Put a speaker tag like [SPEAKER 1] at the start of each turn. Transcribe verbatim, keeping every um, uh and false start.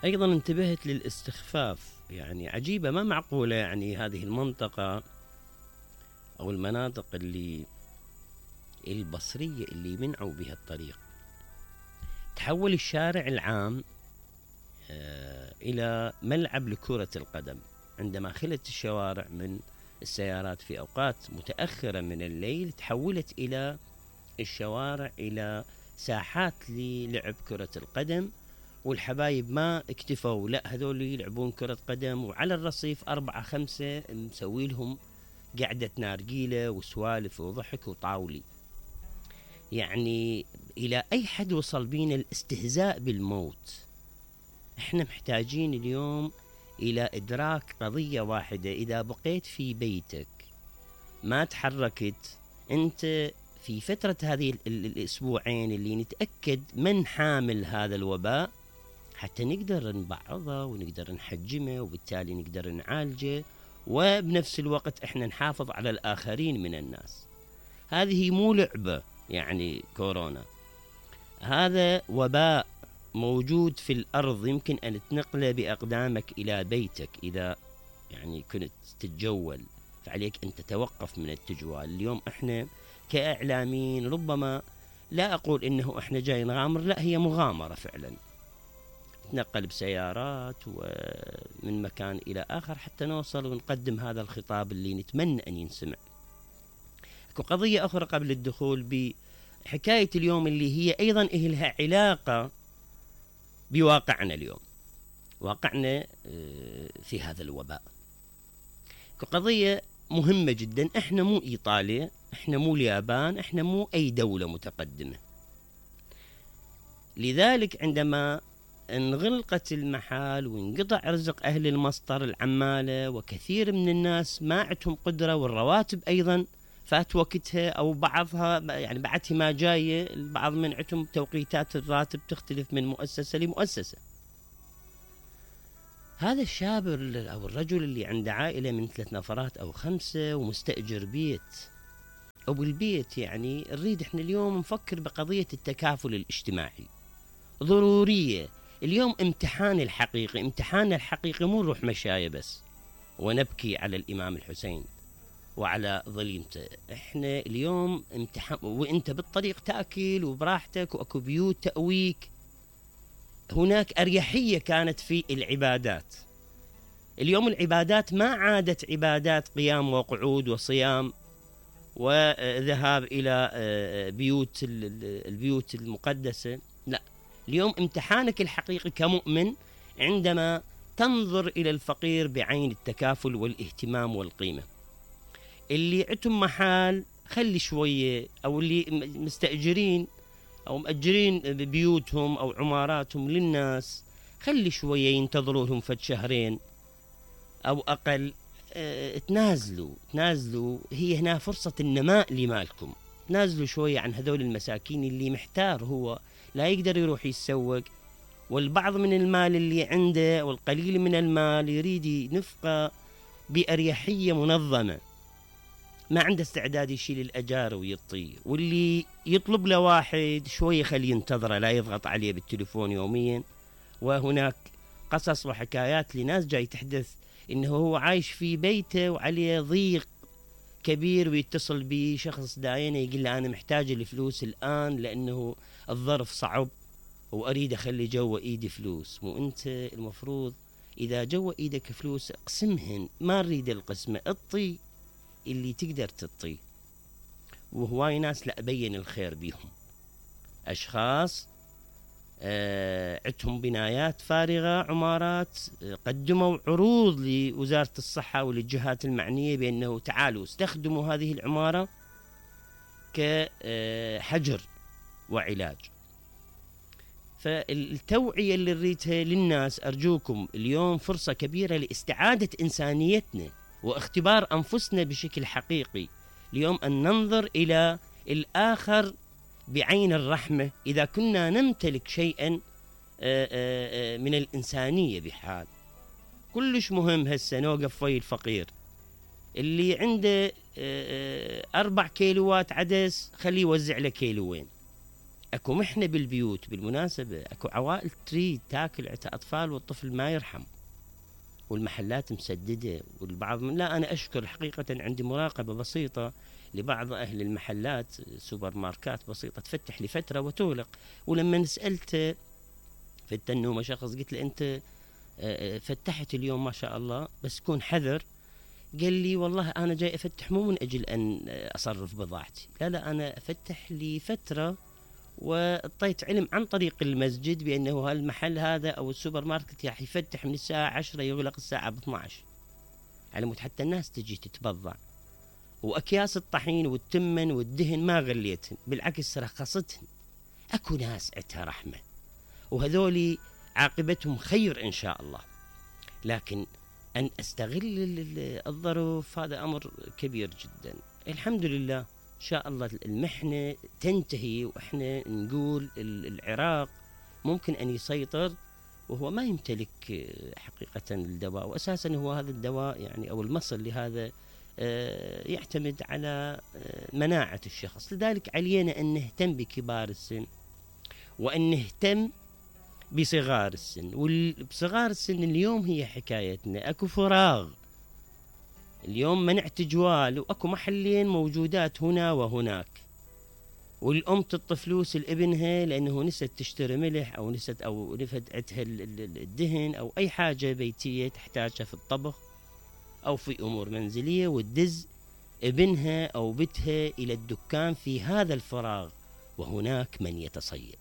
[SPEAKER 1] أيضا انتبهت للاستخفاف، يعني عجيبة ما معقولة، يعني هذه المنطقة أو المناطق اللي البصرية اللي منعوا بها الطريق تحول الشارع العام إلى ملعب لكرة القدم، عندما خلت الشوارع من السيارات في أوقات متأخرة من الليل تحولت إلى الشوارع إلى ساحات للعب كرة القدم، والحبايب ما اكتفوا، لا هذول يلعبون كرة قدم، وعلى الرصيف أربعة خمسة مسوي لهم قعدة نارجيلة وسوالف وضحك وطاولي. يعني إلى أي حد وصل بينا الاستهزاء بالموت. احنا محتاجين اليوم إلى إدراك قضية واحدة، إذا بقيت في بيتك ما تحركت أنت في فترة هذه الأسبوعين اللي نتأكد من حامل هذا الوباء حتى نقدر نبعضه ونقدر نحجمه، وبالتالي نقدر نعالجه، وبنفس الوقت احنا نحافظ على الآخرين من الناس. هذه مو لعبة، يعني كورونا هذا وباء موجود في الأرض، يمكن أن تنقله بأقدامك إلى بيتك إذا يعني كنت تتجول، فعليك أن تتوقف من التجوال. اليوم احنا كإعلاميين ربما لا أقول إنه احنا جاي نغامر، لا هي مغامرة فعلا، نتنقل بسيارات ومن مكان إلى آخر حتى نوصل ونقدم هذا الخطاب اللي نتمنى أن ينسمع. قضية أخرى قبل الدخول بحكاية اليوم اللي هي أيضا إلها علاقة بواقعنا اليوم، واقعنا في هذا الوباء، قضية مهمة جدا. احنا مو إيطاليا، احنا مو اليابان، احنا مو أي دولة متقدمة، لذلك عندما انغلقت المحال وانقطع رزق أهل المسطر العمالة وكثير من الناس ما عندهم قدرة، والرواتب أيضا فات وقتها أو بعضها يعني بعدها ما جاية، البعض من عندهم توقيتات الراتب تختلف من مؤسسة لمؤسسة. هذا الشاب أو الرجل اللي عنده عائلة من ثلاث نفرات أو خمسة ومستأجر بيت أو بالبيت، يعني نريد احنا اليوم نفكر بقضية التكافل الاجتماعي ضرورية. اليوم امتحان الحقيقي، امتحان الحقيقي مو نروح مشاية بس ونبكي على الإمام الحسين وعلى ظليمته، احنا اليوم امتحان، وانت بالطريق تأكل وبراحتك واكو بيوت تأويك. هناك أريحية كانت في العبادات، اليوم العبادات ما عادت عبادات قيام وقعود وصيام وذهاب إلى بيوت البيوت المقدسة، لا، اليوم امتحانك الحقيقي كمؤمن عندما تنظر إلى الفقير بعين التكافل والاهتمام والقيمة. اللي عندهم محال خلي شوية، أو اللي مستأجرين أو مأجرين بيوتهم أو عماراتهم للناس خلي شوية ينتظروا لهم فد شهرين أو أقل. اه تنازلوا تنازلوا هي هنا فرصة النماء لمالكم، تنازلوا شوية عن هذول المساكين اللي محتار، هو لا يقدر يروح يتسوق، والبعض من المال اللي عنده والقليل من المال يريد ينفقه بأريحية منظمة، ما عنده استعداد يشيل الأجار ويطي، واللي يطلب له واحد شوية خليه ينتظره لا يضغط عليه بالتليفون يوميا. وهناك قصص وحكايات لناس جاي تحدث إنه هو عايش في بيته وعليه ضيق كبير ويتصل بي شخص داينه يقول له أنا محتاج الفلوس الآن لأنه الظرف صعب وأريد أخلي جوا إيدي فلوس. مو أنت المفروض إذا جوا إيدك فلوس اقسمهن، ما نريد القسمة، اطي اللي تقدر تطي. وهواي ناس لا أبين الخير بيهم، أشخاص آه عندهم بنايات فارغة، عمارات، آه قدموا عروض لوزارة الصحة وللجهات المعنية بأنه تعالوا استخدموا هذه العمارة كحجر وعلاج. فالتوعية اللي نريدها للناس، أرجوكم اليوم فرصة كبيرة لاستعادة إنسانيتنا واختبار أنفسنا بشكل حقيقي. اليوم أن ننظر إلى الآخر بعين الرحمة، إذا كنا نمتلك شيئا من الإنسانية بحال. كلش مهم هسه نوقف ويا الفقير اللي عنده أربع كيلوات عدس خليه يوزع له كيلوين، اكو محنة بالبيوت بالمناسبة، اكو عوائل تريد تاكل عتا اطفال والطفل ما يرحم، والمحلات مسددة، والبعض من لا أنا أشكر حقيقة عندي مراقبة بسيطة لبعض أهل المحلات، سوبر ماركات بسيطة تفتح لفترة وتغلق. ولما سألت في التنومة شخص قلت له أنت فتحت اليوم ما شاء الله بس كون حذر، قال لي والله أنا جاي أفتح مو من أجل أن أصرف بضاعتي، لا لا أنا أفتح لي فترة، واعطيت علم عن طريق المسجد بأنه هالمحل هذا أو السوبر ماركت راح يفتح من الساعة عشرة يغلق الساعة اثني عشر، على مود حتى الناس تجي تتبضع. وأكياس الطحين والتمن والدهن ما غليتهن، بالعكس رخصتهن. أكو ناس عتها رحمة وهذولي عاقبتهم خير إن شاء الله، لكن أن أستغل الظروف هذا أمر كبير جدا. الحمد لله إن شاء الله المحنة تنتهي، وإحنا نقول العراق ممكن أن يسيطر وهو ما يمتلك حقيقة الدواء، وأساسا هو هذا الدواء يعني أو المصل لهذا يعتمد على مناعة الشخص. لذلك علينا أن نهتم بكبار السن وأن نهتم بصغار السن. وبصغار السن اليوم هي حكايتنا، أكو فراغ اليوم، منعت جوال وأكو محلين موجودات هنا وهناك، والأم تعطي فلوس لابنها لأنه نسيت تشتري ملح أو نسيت أو نفدتها الدهن أو أي حاجة بيتية تحتاجها في الطبخ أو في أمور منزلية، وتدز ابنها أو بنتها إلى الدكان في هذا الفراغ، وهناك من يتصيد.